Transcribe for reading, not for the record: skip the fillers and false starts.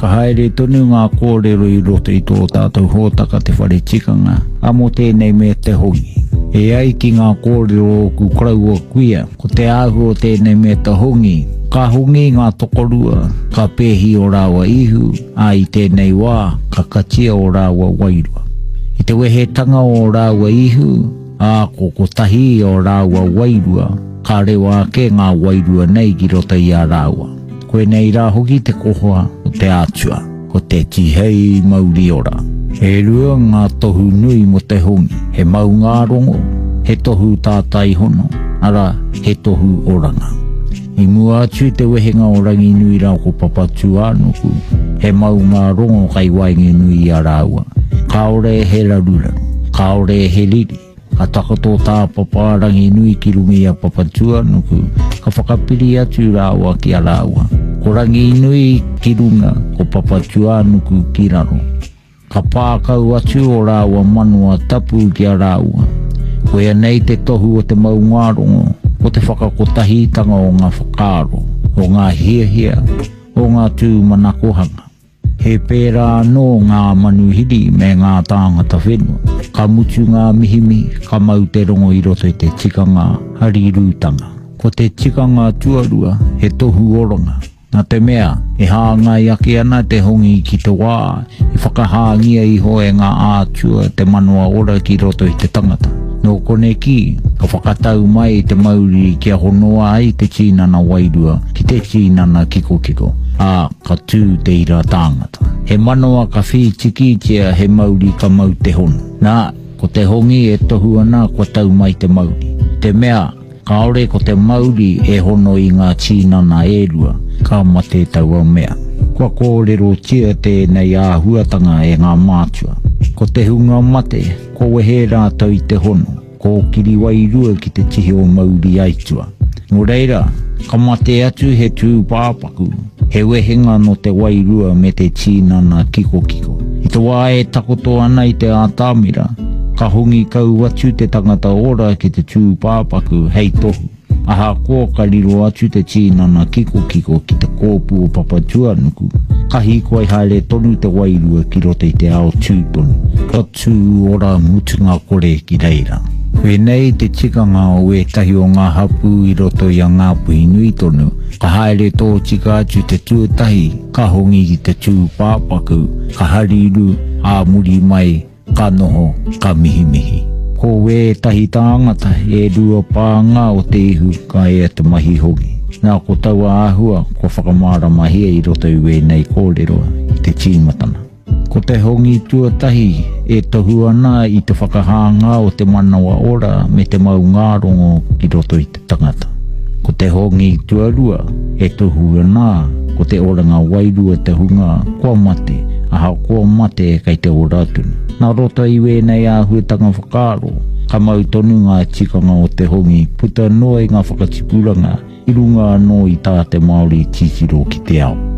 Ka haere tonu ngā kōrero i roto i tō tātou hōtaka Te Whare Tikanga, ā, mō tēnei me te hongi. E ai ki ngā kōrero o ōku koroua kuia, ko te āhua o tēnei me te hongi, ka hongi ngā tokorua, ka pēhi ō rāua ihu, ā, i tēnei wā, ka katia ō rāua wairua. I te wehetanga o ō rāua ihu, ā, ko kotahi o rāua wairua, ka rewa ake ngā wairua nei ki roto i a rāua. Koinei rā hoki te koha o te Atua, ko te tihei mauri ora. E rua ngā tohu nui mō te hongi, he maungārongo, he tohu tātai hono, arā, he tohu oranga. I mua atu i te wehenga o Ranginui rā ko Papatūānuku, he maungārongo kai waengenui i a rāua. Kāore he raruraru, kāore he riri. Ka takoto tā Papa a Ranginui ki runga i a Papatūānuku, ka whakapiri atu rāua ki a rāua. Ko Ranginui ki runga, ko Papatūānuku ki raro. Ka pā kau atu ō rāua manawa tapu ki a rāua. Koia nei te tohu o te maungārongo, ko te whakakotahitanga o ngā whakaaro, o ngā hiahia, o ngā tūmanakohanga. He pērā anō ngā manuhiri me ngā tāngata whenua. Ka mutu ngā mihimihi, ka mau te rongo i roto i te tikanga harirūtanga. Ko te tikanga tuarua, he tohu oranga. Nā te mea, e hāngai ake ana te hongi ki te wā i whakahāngia iho e ngā ātua te manawa ora ki roto i te tangata. Nō koneki, ka whakatau mai te mauri kia honoa ai te tīnana wairua ki te tīnana kikokiko, ā, ka tū te ira tāngata. He manawa ka whītikitia, he mauri ka mau te hono. Nā, ko te hongi e tohu ana kua tau mai te mauri. Te mea, Kāore ko te mauri e hono i ngā tīnana e rua, ka mate taua mea. Kua kōrerotia tēnei āhuatanga e ngā mātua. Ko te hunga mate, kua wehe rātou i te hono, kōkiri wairua ki te tihi o mauri aitua. Nō reira, ka mate atu he tūpāpaku, he wehenga nō te wairua me te tīnana kikokiko. I te wā e takoto ana i te ātamira, ka hongi kau atu te tangata ora ki te tūpāpaku hei tohu, ahakoa ka riro atu te tīnana kikokiko ki te kōpū o Papatūānuku, ka hīkoi haere tonu te wairua ki roto i te ao tū tonu, ka tū ora mutunga kore ki reira. Koinei te tikanga o ētahi o ngā hapū i roto i a Ngāpuhi nui tonu, ka haere tōtika atu te tuatahi, ka hongi ki te tūpāpaku, ka harirū, ā muri mai, ka noho, ka mihimihi. Ko wētahi tāngata, e rua pānga o te ihu ka ea te mahi hongi. Nā, ko taua āhua kua whakamāramahia i roto i wēnei kōrero i te tīmatanga. Ko te hongi tuatahi e tohu ana i te whakahāngā o te manawa ora me te maungārongo ki roto i te tangata. Ko te hongi tuarua e tohu ana ko te oranga wairua te hunga kua mate, ahakoa mate kei te ora tonu. Nā roto i wēnei āhuatanga whakaaro, ka mau tonu ngā tikanga o te hongi puta noa i ngā whakatipuranga i runga anō i tā te Māori titiro ki te ao.